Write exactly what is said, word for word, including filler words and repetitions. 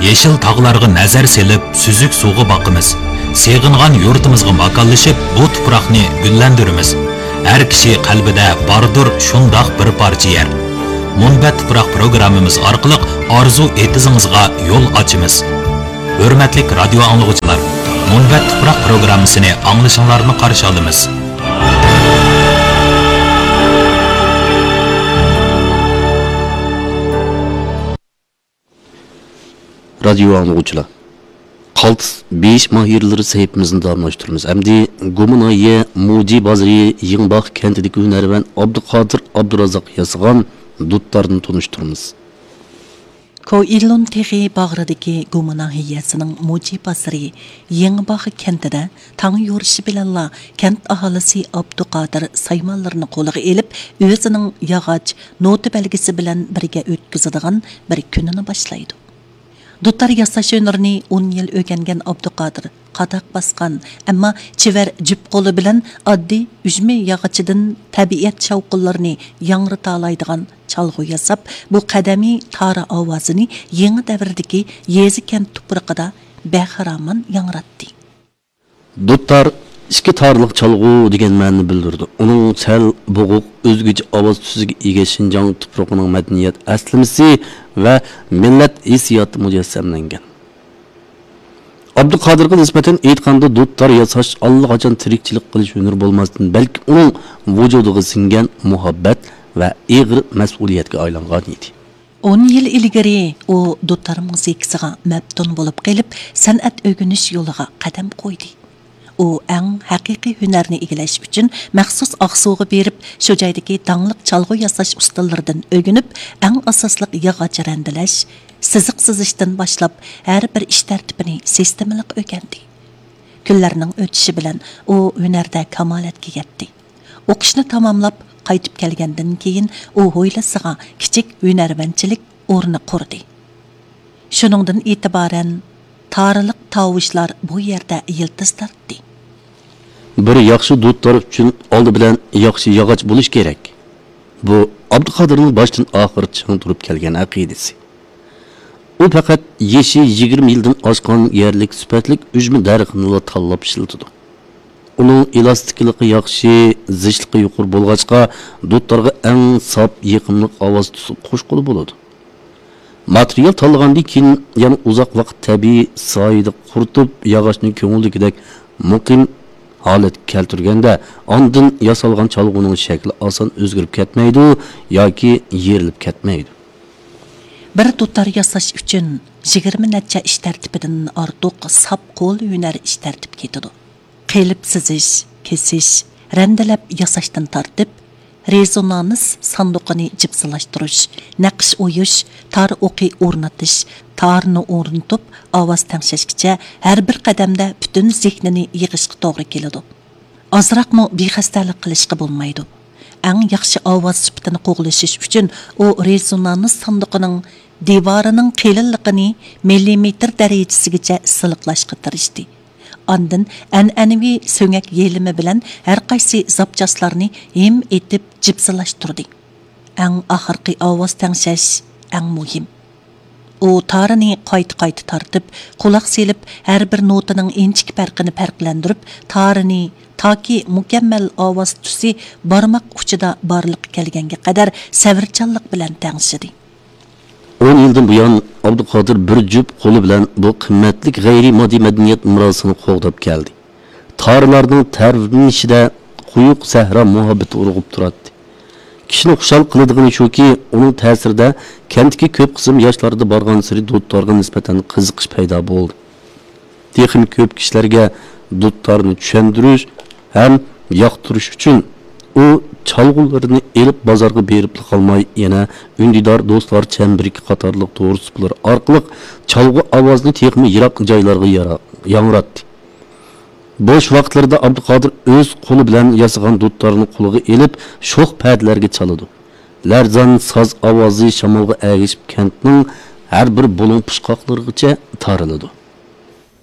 يېشىل تاغلارغا نەزەر سېلىپ، سۈزۈك سۇغا باقىمىز. سېغىنغان يۇرتىمىزغا ماكانلىشىپ، بۇ تۇپراقنى گۈللەندۈرىمىز. ھەر كىشى قەلبىدە باردۇر شۇنداق بىر پارچە يەر. مۇنبەت تۇپراق پروگراممىمىز ئارقىلىق ئارزۇ ئېتىزىڭىزغا يول ئاچىمىز. ھۆرمەتلىك رادىيو ئاڭلىغۇچىلار، مۇنبەت تۇپراق پروگراممىسىنى ئاڭلىشىڭلارنى قارشى ئالىمىز. رادىيو ئاڭلىغۇچىلار، قالتىس بېيىش ماھىرلىرى سەھىپىمىزنى داۋاملاشتۇرىمىز. ئەمدى گۇما ناھىيە موجى بازىرى يېڭىباغ كەنتىدىكى ھۈنەرۋەن ئابدۇقادىر ئابدۇرازاق ياسىغان دۇتارنى تونۇشتۇرىمىز. كوئىلون تېغى باغرىدىكى گۇما ناھىيەسىنىڭ موجى بازىرى يېڭىباغ كەنتىدە تاڭ يورۇشى بىلەنلا كەنت ئاھالىسى ئابدۇقادىر سايمانلىرىنى قولىغا ئېلىپ، ئۆزىنىڭ ياغاچ نوتا بەلگىسى بىلەن بىرگە ئۆتكۈزىدىغان بىر كۈنىنى باشلايدۇ. دۇتار ياساش ھۈنىرىنى ئون يىل ئۆگەنگەن ئابدۇقادىر قاداق باسقان، ئەمما چېۋەر جۈپ قولى بىلەن ئاددىي ئۈجمە ياغىچىدىن تەبىئەت شاۋقۇنلىرىنى ياڭرىتالايدىغان چالغۇ ياساپ، بۇ قەدىمىي تارا ئاۋازىنى يېڭى دەۋردىكى يېزا-كەنت تۇپرىقىدا بەخىرامان ياڭراتتى. دۇتار ئىككى تارلىق چالغۇ دېگەن مەنىنى بىلدۈرىدۇ. ئۇنىڭ سەل بوغۇق، ئۆزگىچە ئاۋاز تۈسىگە ئىگە شىنجاڭ تۇپرىقىنىڭ مەدەنىيەت ئەسلىمىسى ۋە مىللەت ھېسسىياتى مۇجەسسەملەنگەن. ئابدۇقادىرغا نىسبەتەن ئېيتقاندا، دۇتار ياساش ئاللىقاچان تىرىكچىلىك قىلىش ھۈنىرى بولماستىن، بەلكى ئۇنىڭ ۋۇجۇدىغا سىڭگەن مۇھەببەت ۋە ئېغىر مەسئۇلىيەتكە ئايلانغان ئىدى. ئون يىل ئىلگىرى ئۇ دۇتار مۇزىكىسىغا مەپتۇن بولۇپ قېلىپ، سەنئەت ئۆگىنىش يولىغا قەدەم قويدى. ئۇ ئەڭ ھەقىقىي ھۈنەرنى ئىگىلەش ئۈچۈن مەخسۇس ئاقسۇغا بېرىپ، شۇ جايدىكى داڭلىق چالغۇ ياساش ئۇستىلىرىدىن ئۆگىنىپ، ئەڭ ئاساسلىق ياغاچ رەندىلەش، سىزىق سىزىشتىن باشلاپ، ھەر بىر ئىش تەرتىپىنى سىستېمىلىق ئۆگەندى. كۈنلەرنىڭ ئۆتۈشى بىلەن ئۇ ھۈنەردە كامالەتكە يەتتى. ئوقۇشنى تاماملاپ قايتىپ كەلگەندىن كېيىن، ئۇ ھويلىسىغا كىچىك ھۈنەرۋەنچىلىك ئورنى قۇردى. شۇنىڭدىن ئېتىبارەن تارىلىق تاۋۇشلار بۇ يەردە يىلتىز تارتتى. بىر ياخشى دۇتار ئۈچۈن ئالدى بىلەن ياخشى ياغاچ بولۇش كېرەك. بۇ ئابدۇقادىرنىڭ باشتىن ئاخىر چىڭ تۇرۇپ كەلگەن ئەقىدىسى. ئۇ پەقەت يېشى يىگىرمە يىلدىن ئاشقان يەرلىك سۈپەتلىك ئۈجمە دەرىخىنىلا تاللاپ ئىشلىتىدۇ. ئۇنىڭ ئېلاستىكلىقى ياخشى، زىچلىقى يۇقىرى بولغاچقا، دۇتارغا ئەڭ ساپ، يېقىملىق ئاۋاز تۈسى قوشقىلى بولىدۇ. ماتېرىيال تاللىغاندىن كېيىن يەنە ئۇزاق ۋاقىت تەبىئىي سايىدا قۇرۇتۇپ، ياغاچنى كۆڭۈلدىكىدەك مۇقىم ھالەتكە كەلتۈرگەندە، ئاندىن ياسالغان چالغۇنىڭ شەكلى ئاسان ئۆزگىرىپ كەتمەيدۇ ياكى يېرىلىپ كەتمەيدۇ. بىر دۇتار ياساش ئۈچۈن يىگىرمە نەچچە ئىش تەرتىپىدىن ئارتۇق ساپ قول ھۈنەر ئىش تەرتىپ كېتىدۇ. قېلىپ سىزىش، كېسىش، رەندىلەپ ياساشتىن تارتىپ، رېزونانس ساندۇقىنى جىپسىلاشتۇرۇش، نەقىش ئويۇش، تار ئوقى ئورنىتىش، تارنى ئورنىتىپ ئاۋاز تەڭشەشكىچە ھەر بىر قەدەمدە پۈتۈن زېھنىنى يىغىشقا توغرا كېلىدۇ. ئازراقمۇ بىخەستەلىك قىلىشقا بولمايدۇ. ئەڭ ياخشى ئاۋاز سۈپىتىنى قوغلىشىش ئۈچۈن ئۇ رېزونانس ساندۇقىنىڭ دىۋارىنىڭ قېلىنلىقىنى مىللىمېتىر دەرىجىسىگىچە سىلىقلاشقا تىرىشتى. ئاندىن ئەنئەنىۋى سۆڭەك يېلىمى بىلەن ھەرقايسى زاپچاسلارنى ھىم ئېتىپ جىپسىلاشتۇردى. ئەڭ ئاخىرقى ئاۋاز تەڭشەش ئەڭ مۇھىم. ئۇ تارىنى قايتا-قايتا تارتىپ، قۇلاق سېلىپ، ھەر بىر نوتىنىڭ ئىنچىكە پەرقىنى پەرقلەندۈرۈپ، تارىنى تاكى مۇكەممەل ئاۋاز تۈسى بارماق ئۇچىدا بارلىققا كەلگەنگە قەدەر سەۋرچانلىق بىلەن تەڭشىدى. ئون يىلدىن بۇيان، ئابدۇقادىر بىر جۈپ قولى بىلەن بۇ قىممەتلىك غەيرىي ماددىي مەدەنىيەت مىراسىنى قوغداپ كەلدى. تارىلارنىڭ تەۋرىنىشىدە قويۇق سەھرا مۇھەببىتى ئۇرغۇپ تۇراتتى. كىشىنى خۇشال قىلىدىغىنى شۇكى، ئۇنىڭ تەسىرىدە كەنتتىكى كۆپ قىسىم ياشلاردا بارغانسېرى دۇتارغا نىسبەتەن قىزىقىش پەيدا بولدى. تېخىمۇ كۆپ كىشىلەرگە دۇتارنى چۈشەندۈرۈش ھەم ياقتۇرۇش ئۈچۈن، ئۇ چالغۇلىرىنى ئېلىپ بازارغا بېرىپلا قالماي، يەنە ئۈندىدار دوستلار چەمبىرىكى قاتارلىق تور سۇپىلىرى ئارقىلىق چالغۇ ئاۋازىنى تېخىمۇ يىراق جايلارغا يارا-، ياڭراتتى. بوش ۋاقىتلىرىدا ئابدۇقادىر ئۆز قولى بىلەن ياسىغان دۇتارنى قولىغا ئېلىپ، شوخ پەدىلەرگە چالىدۇ. لەرزان ساز ئاۋازى شامالغا ئەگىشىپ، كەنتنىڭ ھەر بىر بۇلۇڭ پۇچقاقلىرىغىچە تارىلىدۇ.